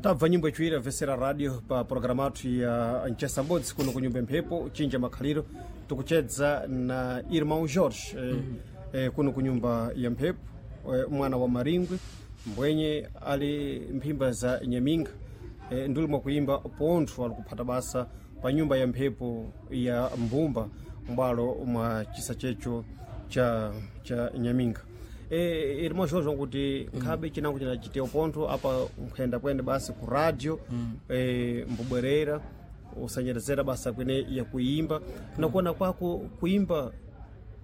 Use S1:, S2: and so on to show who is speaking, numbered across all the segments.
S1: Tabva nyimbo ichwira vesera radio pa programu athu ya mchesa mbodzi kuno ku nyumba mphepo chinja makhaliro, tikuchedza na irmão Jorge kuno ku nyumba ya mphepo, mwana wa Maringwe mbwenye ali mphimba za Nyaminga, nduli mwakuimba pontho ali kuphata basa pa nyumba ya mphepo ya Mbumba m'bwalo mwa chisa checho cha Nyaminga. Irmão Jorge, kuti nkhabe chinango chinachitewa pontho apa nkhuyenda kwene basi ku radio, mbubwerera usanyerezera basa kwene ya kuimba, nakuona kwako kuimba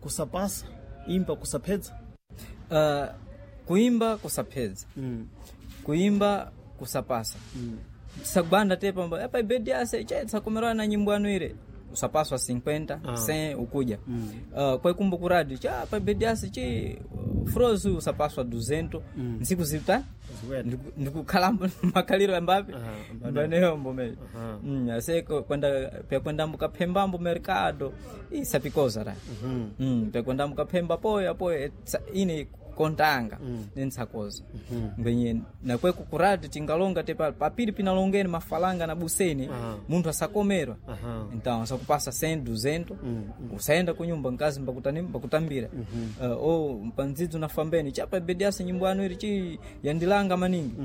S1: kusapasa imba kusaphedza?
S2: Kuimba kusaphedza, kuimba kusapasa. Sagwanda te pamba apa ibedi ase che tsakomerana na nyimbo anu ile usapaswa 50 100 ukuja. Kwaikumbu ku radio cha apa ibedi ase chi frozu usapaswa 200 nsiku zita.
S1: Ziwene.
S2: Ndikukhalambo makhaliro ambapi
S1: Aha,
S2: mbaneyombo me ase kwenda pyakwenda mbukaphembambo mercado isapikoza ra pyakwenda mbukaphemba poyo apoyo ine kontanga nentsakoza ngwenye nakweku kuradi tingalonga te papiri pinalongeni mafalanga na buseni. Munthu asakomerwa. Então asakupasa 100 200, usaenda kunyumba nkazi mbakutani mbakutambira. O pandzidzo nafambeni chapa bediasa nyimbo anu iri chi yandilanga maningi.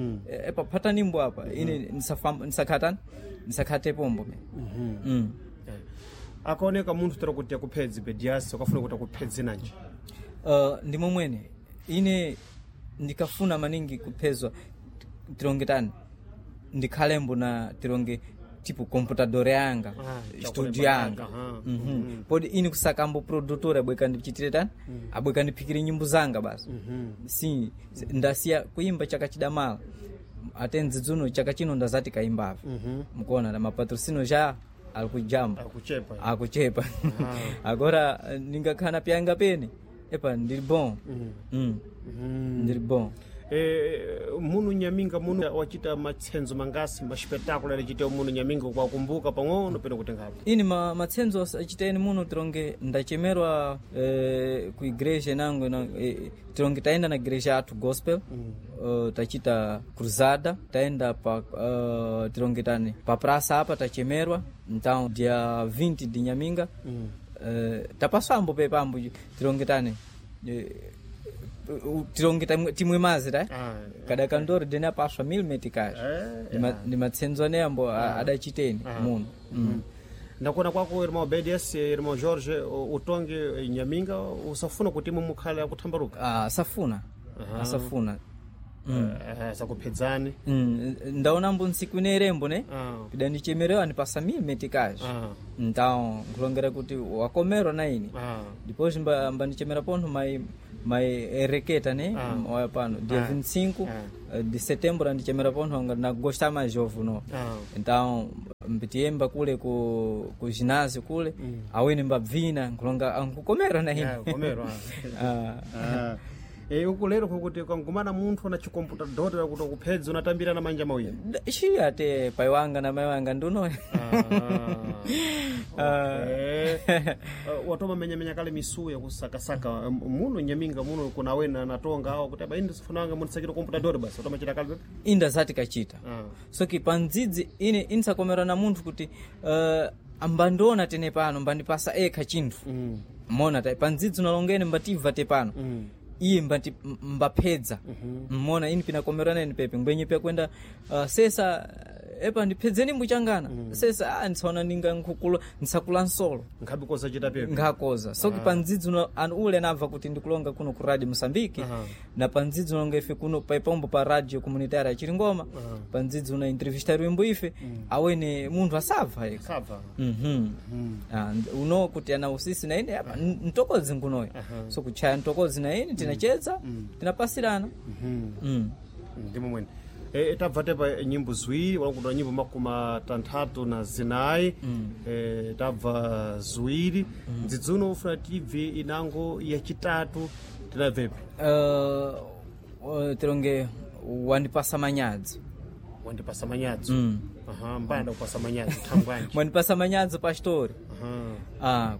S2: Epa phata nimbo apa ine nisakhatani nisakhate pombo me.
S1: Akaoneka munthu tera kuti akuphedzi bediasi ukafuna kuti akuphedze nanji?
S2: Ndi momwene ine ndikafuna maningi kuphezwa tilonge tani ndikhalembo na tilonge tipo computador yanga, studio yanga. Podi ine kusakambo produtor abweka ndichitire tani abweka ndiphikire nyimbo zanga basi. Si ndasiya kuimba chaka chidamala ate ndzidzuno chaka chino ndazati kaimbava mukuona na mapatrocino ja ali kujamba.
S1: Akuchepa.
S2: Akuchepa. Agora ningakhala pyanga pene epa ndili bon. Ndili bon.
S1: Munu Nyaminga muno wachita matsenzo mangasi maspetakula alichitewa muno Nyaminga kwakumbuka pang'ono peno kuti ngapi?
S2: Ini matsenzo achiteni muno tilonge ndachemerwa ku igreja nango na, tilonge taenda na igreja athu gospel. Tachita cruzada taenda pa tilonge tani pa praça apa tachemerwa então dia 20 de Nyaminga. Tapaswambo pepambo tilonge tani tilonge timwe mazi ta kada kandori dene apaswa 1000 meticais. Ndi matsenzo aneyambo adachiteni muno.
S1: Ndakuona kwako irmão Obedias, irmão Jorge, utonge Nyaminga usafuna kuti imwe mukhale akuthambaruka?
S2: Asafuna asafuna.
S1: Sakuphedzani.
S2: Ndaonambo ntsiku ine irembo ne pidandichemerewa andipasa 1000 meticais. Então nkulongera kuti wakomerwa na ine. Depois mbandichemera pontho mai ereketa ne waya pano dia 25 de setembro andichemera pontho nga nagosta mais jovo no. Então mbitiyemba kule ku ginásio kule awene mbabvina nkulonga ankukomerwa na ine.
S1: Yeah, kukomerwa. Uku lero kukuti ukangumana munthu na chikomputador kuti akuphedza unatambira na manja mawiri.
S2: Shi ate pai wanga na mai wanga ndunoyo.
S1: Watoma menyamenya kale misuya kusakasaka muno Nyaminga muno kuna wena natonga awo kuti aba indi sifunanga munisakira computador basi watoma chita kale pepe.
S2: Inda zati kachita. Soki pandzidzi ine insakomera na munthu kuti ambandiona tene pano mbandipasa ekha chinthu mona ta pandzidzi unalongene mbatibva te pano iye mbati mbaphedza mona ini pinakomerana ine pepe ngwenye pyakwenda sesa epa ndiphedzeni mbuchangana sesa nditsaona ninga nkhukula ntsakula nsolo.
S1: Nkhabe koza chita pepe.
S2: Nkhakoza soki pandzidzi anu ule anabva kuti ndikulonga kuno ku radio Moçambique na pandzidzi unalonga ife kuno paipombo pa radio comunitária ya Chiringoma pandzidzi una entrevista rwimbo ife awene munthu asabva eka.
S1: Sabva.
S2: Uno kuti ana usisi na ine apa ntokodzi nkunoyo so kuchaya ntokodzi na ine tinachedza tinapasirana.
S1: Ndimo mwene tabva tepa nyimbo ziwiri wakutoa nyimbo 34. Tabva ziwiri ndzidzuno ufuna tibve inango yachitatu tinabvepi?
S2: Tilonge wandipasa manyadzo.
S1: Wandipasa manyadzo. Aha, mbanda kupasa manyadzo thangwanji?
S2: Mwandipasa manyadzo pastori.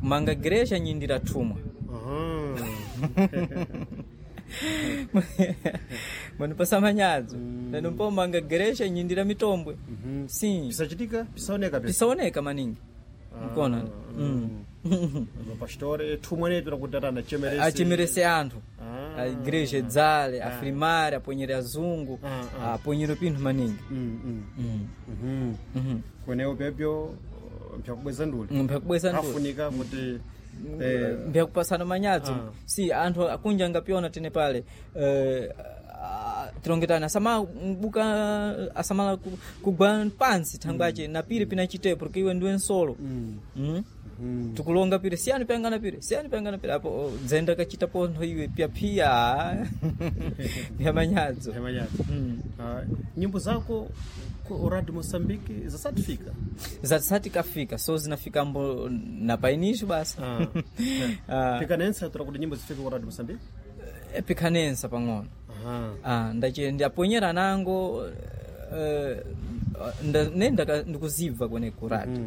S2: Kumanga igreja nyindira thumwa.
S1: Aha.
S2: Munipasa manyadzo. Neno mpomanga geresha nyindira mitombwe. Sim.
S1: Pisachitika, pisaoneka pesa.
S2: Pisaoneka maningi. Mkona.
S1: Mapastore thumwenetu nakuti atana achemerese.
S2: Achemerese anthu.
S1: Ah.
S2: A igreja dzale, afrimare, aponyere azungu, aponyere pinthu maningi.
S1: Kwenewo pepyo mpyakubweza nduli.
S2: Mphyakubweza nduli.
S1: Afunika kuti
S2: Mbyakupasana manyadzo. Si anthu akunja angapiona tene pale tilongetana asama mbuka asamala kugwa pansi thangwache na pili pinachitepo porque iwe ndiwe nsolo. Tikulonga pili siyani payangana pili siyani payangana pili apo oh, dzenda kachita pontho iwe pyaphiya pya manyadzo.
S1: Manyadzo. Ah, nyimbo zako ku Radio Mozambique zasatifika.
S2: Zatisati kafika so zinafikambo na painisho basi. Ah.
S1: Pikanensa tura kuti nyimbo zifike ku Radio Mozambique.
S2: Pikanensa pang'ono.
S1: Aha.
S2: Ah, ndache ndaponyera nango ne ndikuzibva kwene kurati.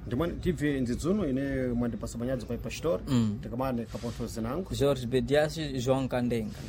S1: Ndimwe tibve nzidzuno ine mwandipasa manyadzo pa pastor tikamane kapontho zinango.
S2: George Bedias João Kandenga.